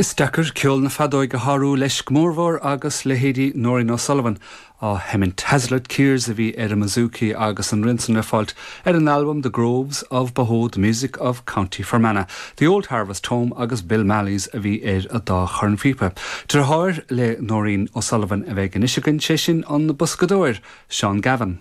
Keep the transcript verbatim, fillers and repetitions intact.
Is deacair ceol na feadóige a shárú leis go mórmhór agus leithéidí Nóirín O'Sullivan á sheimint. Hazlitt Kears a bhí ar an mbouzouki agus an rian san le fáilt ar an album The Groves of Bohoe, The Music of County Fermanagh. The Old Harvest Home agus Bill Malleys a bhí ar an dá chornphíopa. Deartháir le Nóirín O'Sullivan a bheidh anois againn sé sin an boscadóir Seán Gavin.